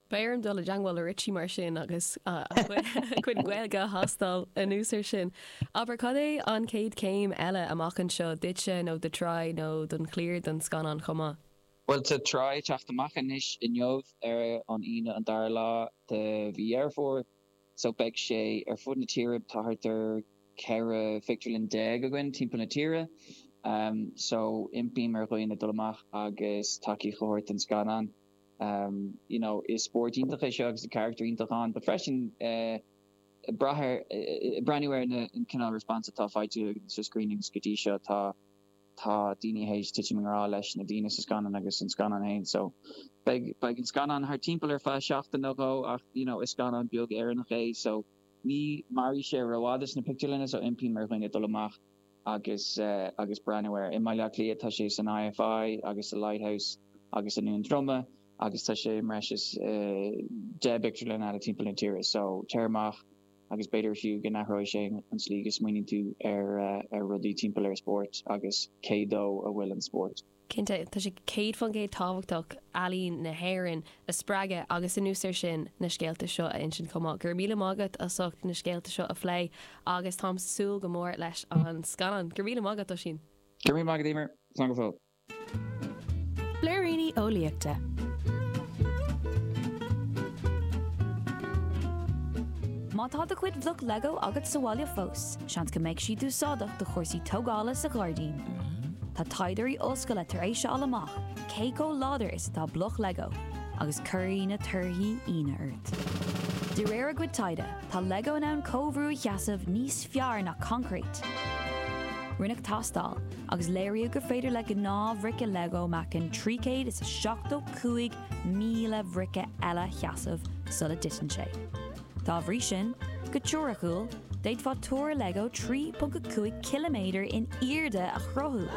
Beidh orm dul i dteangmháil le Richie mar sin agus a chuid Gaeilge a thástáil anuas ar sin. Abair, cad é an chéad chéim eile amach anseo duitse nó do Try nó don chliar don scannán chomh maith? Bhuel, tá Try ag teacht amach anois inniu ar an Aoine an dara lá de mhí Dheireadh Fómhair so beidh sé ar fud na tíre, tá thart ar 14 phictiúrlann againn timpeall na tíre so impím ar dhaoine dul amach agus tacaíocht a thabhairt don scannán. You know, is spórt iontach é seo agus tá carachtar iontach ann but freisin eh brath ar, breathnú ar na an cineál response atá faighte sa screenings go dtí seo tá tá daoine théis titim i ngrá leis na daoine sa scannán agus an scannán féin so beidh beidh an scannán thart timpeall ar feadh seachtain nó dhó ach you know is scannán beag Éireannach é so ní mairfidh sé rófhada sna pictiúrlanna so impím ar dhaoine dul amach agus agus breathnú air. I mBaile Átha Cliath tá sé san IFI agus sa Lighthouse agus i nDún Droma agus tá sé i mbreis is 10 bpictiúrlann eile timpeall na tíre. So, téir amach agus b'fhéidir fiú go n-athróidh sé an tslí go smaoiníonn tú ar ar rudaí timpeall ar spórt agus cé dó a bhfuil an spórt. Cinnte, tá sé 100% tábhachtach ealaín na hÉireann a spreagadh agus anuas air sin na scéalta seo a insint chomh maith. Go raibh míle maith agat as ucht na scéalta seo a phlé agus táim ag súil go mór leis an scannán. Go raibh míle maith agat, Oisín. Go raibh míle maith agat, Emer. Slán go fóill. Blúiríní Eolaíochta. Má tá do chuid bhloc Lego agat sa bhaile fós, seans go mbeidh siad úsáideach do chúrsaí tógála sa ghairdín. Tá taighdeoirí ollscoile tar éis a fháil amach cé chomh láidir is atá bloc Lego, agus cuirfidh na torthaí ionadh ort. De réir a gcuid taighde, tá Lego in ann comhbhrú a sheasamh níos fearr ná coincréit. Rinneadh tástáil, agus léiríodh gur féidir le gnáthbhrice Lego meáchan 375,000 bhrice eile a sheasamh sula dtiteann sé. Dá bhrí sin, go teoiriciúil, d'fhéadfá túr Lego 3.5 ciliméadar in airde a chruthú!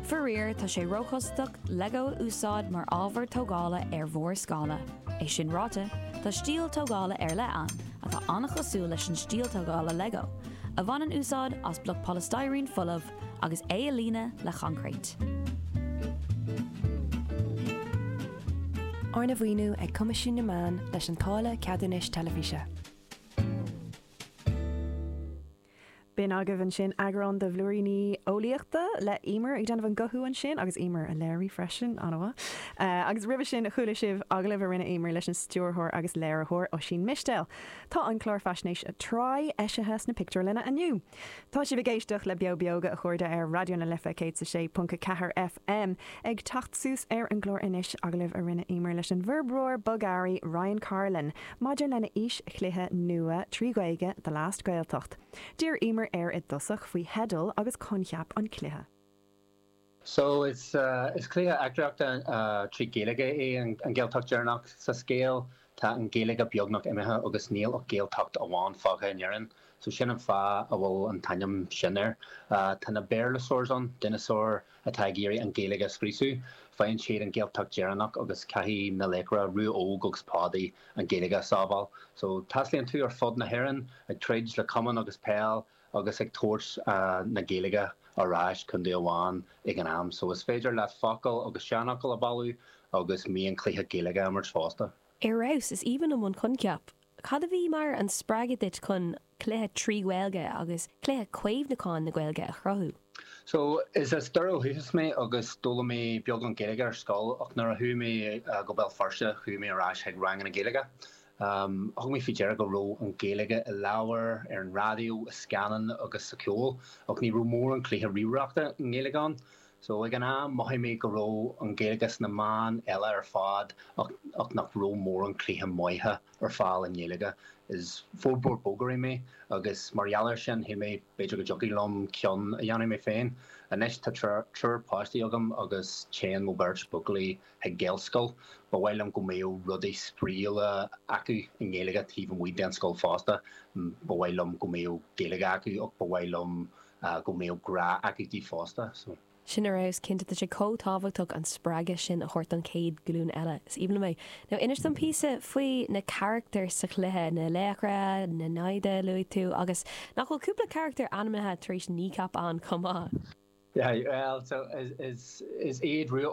Faraor, tá sé róchostasach Lego a úsáid mar ábhar tógála ar mhórscála. É sin ráite, tá stíl tógála ar leith ann, atá an-chosúil leis an stíl tógála Lego, a bhaineann úsáid as bloc polystyrene folamh agus é a líonadh le coincréit. Arna mhaoiniú ag Coimisiún na Meán leis an táille ceadúnais teilifíse. B'in agaibh ansin eagrán de Bhlúiríní Eolaíochta le Emer ag déanamh an guthú ansin agus Emer a léirigh freisin, an-mhaith. Agus roimhe sin chuala sibh agallamh a rinne Emer leis an stiúrthóir agus léiritheoir Oisín Mistéil. Tá an clár faisnéise Try eisithe sna pictiúrlanna inniu. Tá sibh ag éisteacht le Beo Beoga, a chairde, ar Raidió na Life 106.4 FM. Ag teacht suas ar an gclár anois, agallamh a rinne Emer leis an bhforbróir bogearraí Ryan Carlin maidir lena fhíschluiche nua 3 Ghaeilge, The Last Gaeltacht. D'iarr Emer air i dtosach faoi theideal agus coincheap an chluiche. So is is cluiche eachtraíochta trí Ghaeilge é an Ghaeltacht Dheireanach. Sa scéal tá an Ghaeilge beagnach imithe agus níl ach Gaeltacht amháin fágtha in Éirinn. So sin an fáth a bhfuil an t-ainm sin air. Tá na Béarlasaurs ann, dineasáir atá ag iarraidh an Ghaeilge a scriosadh. Faigheann siad an Ghaeltacht Dheireanach agus caithfidh na laochra, Rua Óg agus Pádaí, an Ghaeilge a sábháil. So taistealaíonn tú ar fud na hÉireann ag troid le camán agus peil agus ag tabhairt na Gaeilge ar ais contae amháin ag an am. So is féidir leat focail agus seanfhocail a bhailiú agus mionchluiche Gaeilge a imirt fosta. Ar fheabhas, is aoibhinn liom an coincheap. Cad a bhí mar an spreagadh duit chun cluiche trí Ghaeilge agus cluiche caomhnúcháin na Gaeilge a chruthú? So, is as Doire ó dhúchas mé agus d'fhoghlaim mé beagán Gaeilge ar scoil ach nuair a chuaigh mé go Béal Feirste chuaigh mé ar ais chuig ranganna Gaeilge. Thug mé faoi deara go raibh an Ghaeilge i leabhair, ar an raidió, i scannáin agus sa cheol, ach ní raibh mórán cluiche ríomhaireachta i nGaeilge ann. So, ag an am, mhothaigh mé go raibh an Ghaeilge sna meáin eile ar fad ach ach nach raibh mórán cluiche maithe ar fáil i nGaeilge. Is forbróir bogearraí mé agus mar gheall air sin, shíl mé b'fhéidir go dtiocfadh liom ceann a dhéanamh mé féin. Anois tá triúr páistí agam agus téann mo bheirt buachaillí chuig Gaelscoil. Ba mhaith liom go mbeadh rudaí spraíúla acu i nGaeilge taobh amuigh den scoil fosta. Ba mhaith liom go mbeadh Gaeilge acu ach ba mhaith liom go mbeadh grá acu di fosta. So. Sin ar fheabhas, cinnte. Tá sé chomh tábhachtach an spreagadh sin a thabhairt don chéad ghlúin eile. Is aoibhinn liom é. Now, inis dom píosa faoi na carachtair sa chluiche, na laochra, na naimhde a luaigh tú, agus nach bhfuil cúpla carachtar ainmnithe tar éis Kneecap ann chomh maith? Yeah, well, so is, is, is iad Rua.